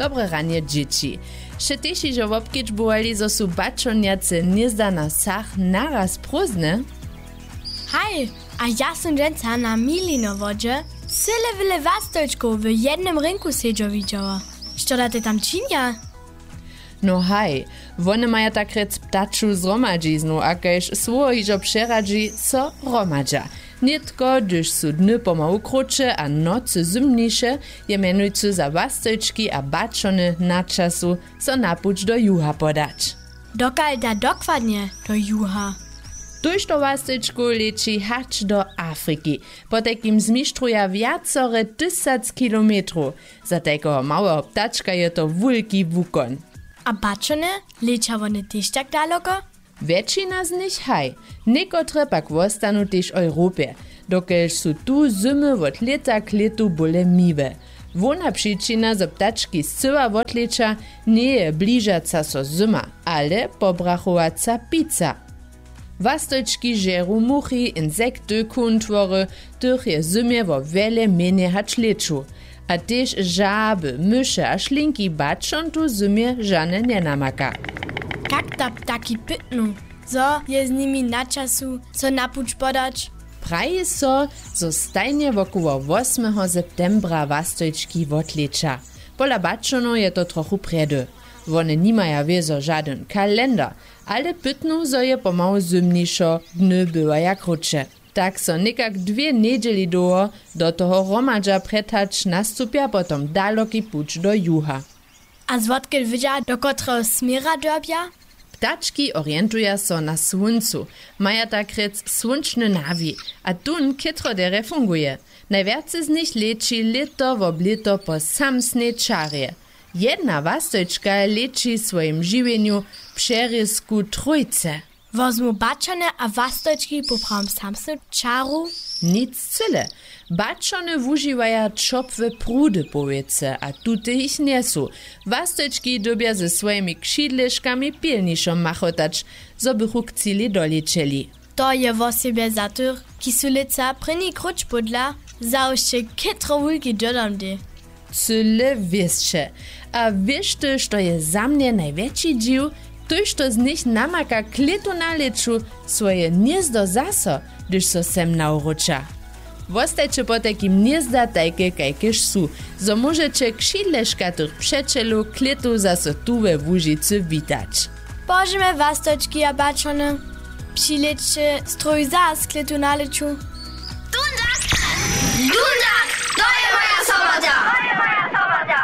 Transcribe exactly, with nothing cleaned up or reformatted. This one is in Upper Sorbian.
Dobre ranje, dźěći. Sće tež hižo wobkedźbowali, zo su baćonjace hnězda na wsach naraz prózdne? Haj, a ja sym dźensa na Milinowodźe cyle wjele wastojčkow w jednym rinku sedźo widźała. Što da te tam činja? No haj, wone maja tak rjec ptaču zhromadźiznu a kaž słowo hižo přeradźi, so hromadźa. Nětko, hdyž su dny pomału krótše a nocy zymniše, je mjenujcy za wastojčki a baćony na času, so na puć do juha podać. Dokal da dokładnje do juha? Tójšto wastojčkow leći hač do Afriki. Potajkim zmištruja wjacore tysac kilometrow. Za tajkeho małeho ptačka je to wulki wukon. A baćony, leća wone tež tak daloko? Wjetšina z nich haj, někotre pak wostanu tež w Europje, dokelž su tu zymy wot lěta k lětu bóle miłe. Hłowna přičina, zo ptački scyła wotlěća, njeje bližaca so zyma, ale pobrachowaca pica. Wastojčki žeru muchi, insekty, kuntwory, tych je w zymje wo wjele mjenjej hač lěću. A tež žaby, myše a šlinki baćon tu w zymje žane njenamaka. Kak da ptaki pytnu, zo je z nimi na času so na puć podać? Praji so, zo stajnje wokoło wosmeho septembra wastojčki wotlěća. Pola baćonow je to trochu prjedy. Wone nimaja wězo žadyn kalendar, ale pytnu, zo je pomału zymnišo, dny bywaja krótše. Tak so někak dwě njedźeli dołho do toho hromadźa prjetać, nastupja potom daloki puć do juha. A zwotkel wědźa, do kotreho směra dyrbja? Ptački orientuja so na słóncu, maja tak rjec słónčny nawi, a tón chětro derje funguje. Najwjace z nich leći lěto wob lěto po samsnej čarje. Jedna wastojčka leći w swojim žiwjenju w přerězku trójce. Wozmu baćony a wastojčki poprawom samsnu čaru? Nic cyle. Baćony wužiwaja ćopłe prudy powěcy a tute jich njesu. Wastojčki dyrbja ze swojimi křidleškami pilnišo machotać, zo bychu k cili dolěćeli. To je wosebje za tych, kiž su lětsa prěni króć pódla, zawšće chětro wulki dyrdomdej. Cyle wěsće. A wěš ty, što je za mnje najwjetši dźiw? Tójšto z nich namaka k lětu na lěću swoje hnězdo zaso, hdyž so sem nawróća. Wostajće potajkim hnězda tajke, kajkež su, zo móžeće křidleška tych přećelow k lětu zaso tu we Łužicy witać. Pozdźemy wastojčki a baćony. Přilěćće stroj zas k lětu na lěću. Dundak! Dundak! To je moja sobota!